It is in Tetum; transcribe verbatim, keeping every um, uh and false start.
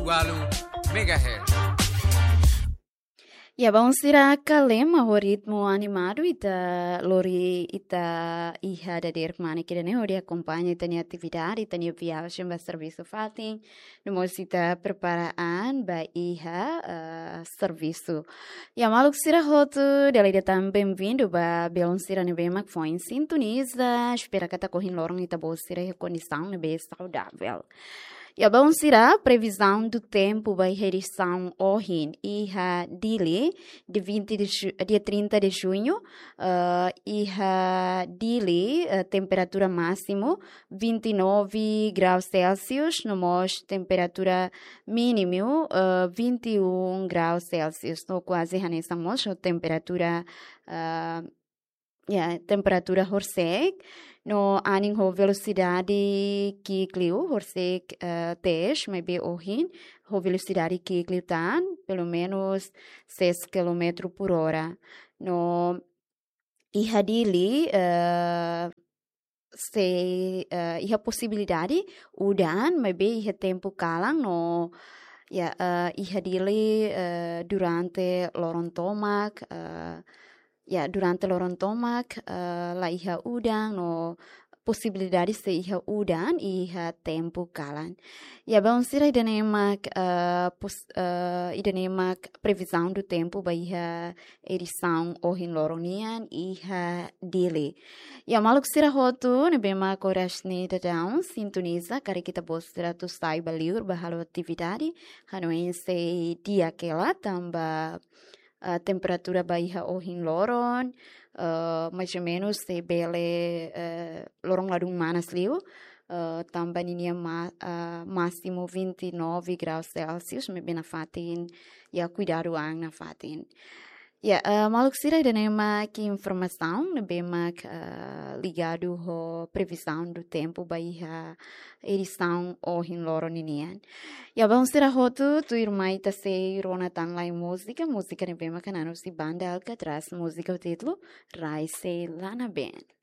Walu megahertz. Ya, baun sira, kalema ho ritmu animadu ita lori ita iha dadeer kmanek ida-ne'e hodi akompaña ita-nia atividade, ita-nia viajen ba servisu fatin, no mós ita prepara an ba iha, eh, servisu. Ya, maluk sira hotu, dala ida tan benvindu ba belun sira ne'ebé mak foin sintoniza, espera katak ohin loron ita-boot sira iha kondisaun ne'ebé saudavel. Ya, baun sira, previsão do tempo ba iha edisaun ohin, iha Dili, dia vinte de ju-, dia trinta de junho, eh, iha Dili, eh, temperatura másimu vinte e nove graus Celsius, no mós temperatura mínimu, eh, vinte e um graus Celsius, no kuaze hanesan mós ho temperatura, eh, ya, temperatura horisehik, no anin ho velosidade ki'ik liu, horisehik, eh, tebes, maibé ohin ho velosidade ki'ik liután, pelumenus seis quilômetro por hora. No iha Dili, eh, sei, eh, iha posibilidade udan, maibé iha tempu kalan no, ya, eh, iha Dili, eh, durante loron tomak, eh, ya, durante loron tomak, eh, la iha udan no posibilidade sei iha udan iha tempu kalan. Ya, baun sira, ida-ne'e mak, eh, pos-, eh, ida-ne'e mak previsão do tempo ba iha edisaun ohin loron nian iha Dili. Ya, maluk sira hotu ne'ebé mak oras ne'e daudaun sintoniza, karik ita-boot sira atu sai ba liur ba halo atividade, hanoin sei di'ak hela tanba, eh, temperatura ba iha ohin loron, eh, mais ou menos sei bele, eh, loron ladún manas liu, eh, tanba ninia ma-, eh, másimu vinte e nove graus Celsius, maibé nafatin, ya, kuidadu an nafatin. Ya, eh, maluk sira, ida-ne'e mak informasaun ne'ebé mak, eh, ligadu ho previsão do tempo ba iha edisaun ohin loron ninian. Ya, baun sira hotu, tuirmai ita sei rona tan lai múzika, múzika ne'ebé mak hanan husi banda Alcatraz, múzika ho títulu Rai Sei La Nabeen.